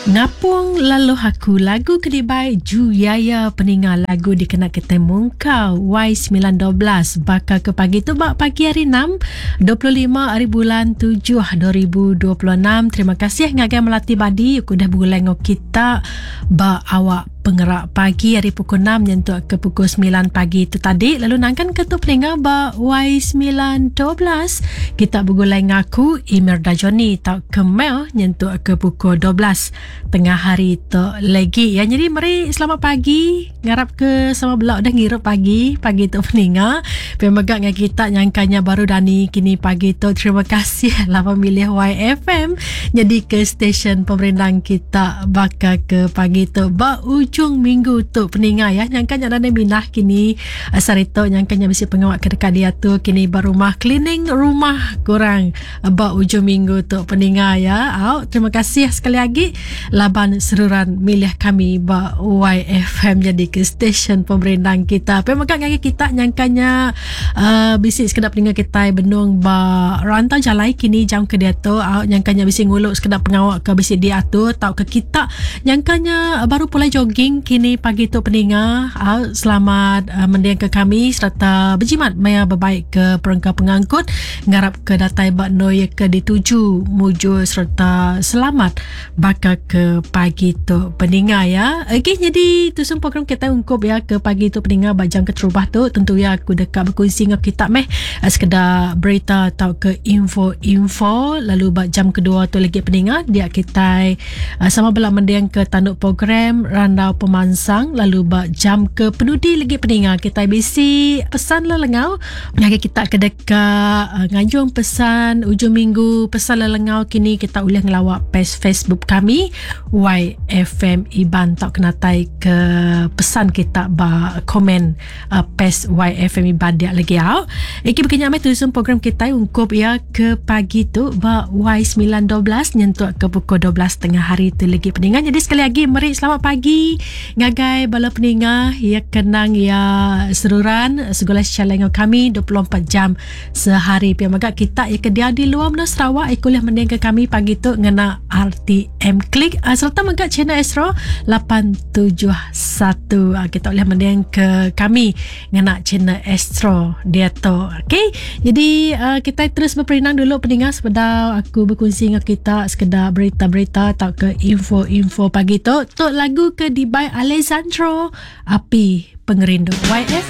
Ngapung laluh aku lagu ke dibai Ju Yaya peninga lagu dikena kitai mungkal Y 9 12 baka ke pagi tu ba pagi hari enam 25 hari bulan tujuh 2026 terima kasih ngagai Melati Badi aku udah begulai enggau kita ba awak pengerak pagi hari pukul 6 nyentuk ke pukul 9 pagi tu tadi lalu nangkan ke tu peninga ba Y 9 12 kita begulai ngaku Imerda Johnny tau ke Mel nyentuk ke pukul 12 tengah hari tu lagi ya. Jadi meri selamat pagi ngarap ke sama bela udah ngirup pagi pagi tu peninga pia mega ngai kita nyangkanya baru dani kini pagi tu terima kasih lah pemilih YFM Nyadi ke stesen pemerindang kita baka ke pagi tu ba ujung minggu tu peninga ya nyangka nya nadai minah kini sehari tu nyangka nya bisi pengawa ke deka diatur kini ba rumah cleaning rumah kurang ba ujung minggu tu peninga ya. Au terima kasih sekali agi laban seruran milih kami ba YFM nyadi ke stesen pemerindang kita. Pia mega ngagai kita nyangka nya uh, bisi sekeda peninga kitai benung ba rantau jalai kini jam ke diatu uh, nyangka nya bisi ngulu sekeda pengawa ke bisi diatur tauka kita nyangka nya baru pulai jogging kini pagi tu peninga uh, selamat uh, mending ke kami sereta bejimat maya bebaik ke perengka pengangkut ngarap ke datai ba noi ke dituju mujur sereta selamat baka ke pagi tu peninga ya. Okey jadi tusun program kita ungkup ya ke pagi tu peninga ba jam keterubah tu tentu ya aku deka berkongsi enggau kita meh eh, sekeda berita atau ke info-info lalu ba jam kedua tu lagi peninga dia kita eh, sama bela mending ke tanduk program randau pemansang lalu ba jam ke penudi lagi peninga kita bisi pesan lelengau ngagai kita ke deka uh, nganjung pesan ujung minggu pesan lelengau kini kita ulih ngelawa page Facebook kami YFM Iban tau kenatai ke pesan kita ba komen uh, page YFM Iban dia lagi au. Iki begini amai tusun program kita ungkup ya ke pagi tu ba Y912 nyentuk ke pukul 12 tengah hari tu lagi peningan. Jadi sekali lagi meri selamat pagi Ngagai bala peninga iya kenang iya seruran segulai secara enggau kami 24 jam sehari. Pia mega kita iya ke diau di luar menua Sarawak iya ke ulih mendingka kami pagi tu ngena RTM Click ah, sereta mega channel Astro 871. Ah, kita ulih mendingka kami ngena channel Astro diatu. Okey. Jadi uh, kita terus berperindang dulu peninga sebedau aku berkongsi dengan kita sekedar berita-berita atau ke info-info pagi tu. Tu lagu ke dibai Alessandro Api Pengerindu. YF.